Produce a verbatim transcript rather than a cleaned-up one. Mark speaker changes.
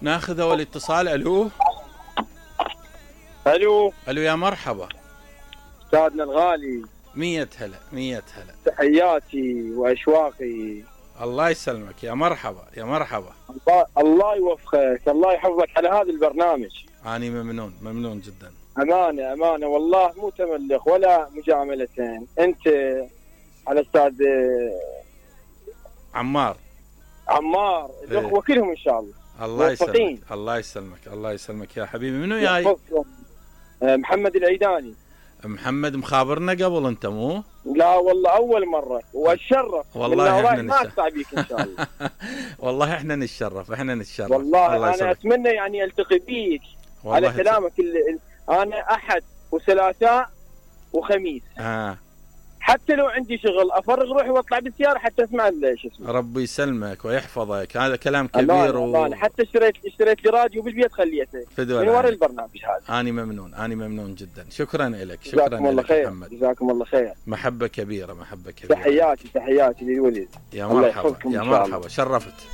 Speaker 1: ناخذ اول اتصال. الو
Speaker 2: الو
Speaker 1: الو يا مرحبا
Speaker 2: استاذنا الغالي.
Speaker 1: مية هلا مية هلا.
Speaker 2: تحياتي واشواقي.
Speaker 1: الله يسلمك يا مرحبا يا مرحبا.
Speaker 2: الله, الله يوفقك، الله يحفظك على هذا البرنامج.
Speaker 1: اني ممنون ممنون جدا.
Speaker 2: امانه امانه والله مو تملق ولا مجاملتين. انت على استاذ
Speaker 1: عمار
Speaker 2: عمار الاخوه
Speaker 1: إيه.
Speaker 2: كلهم ان شاء الله.
Speaker 1: الله
Speaker 2: موفقين.
Speaker 1: يسلمك الله يسلمك الله يسلمك يا حبيبي. منو جاي؟
Speaker 2: يحفظكم. محمد العيداني.
Speaker 1: محمد مخابرنا قبل انت مو؟
Speaker 2: لا والله اول مره واتشرف.
Speaker 1: والله احنا
Speaker 2: ما اقطع بيك ان شاء الله.
Speaker 1: والله احنا نتشرف احنا نتشرف.
Speaker 2: والله انا يسلمك. اتمنى يعني التقي بيك على كلامك. ال... انا احد وثلاثاء وخميس.
Speaker 1: اه
Speaker 2: حتى لو عندي شغل افرغ روحي واطلع بالسياره حتى اسمع شو اسمه.
Speaker 1: ربي يسلمك ويحفظك. هذا كلام كبير.
Speaker 2: و... أنا حتى اشتريت اشتريت لي راديو بالبيت خليته من وراء البرنامج هذا.
Speaker 1: اني ممنون اني ممنون جدا. شكرا لك.
Speaker 2: شكرا لك محمد. جزاكم الله خير.
Speaker 1: محبه كبيره محبه كبيره.
Speaker 2: تحياتي تحياتي للولد.
Speaker 1: يا مرحبا يا مرحبا شرفت.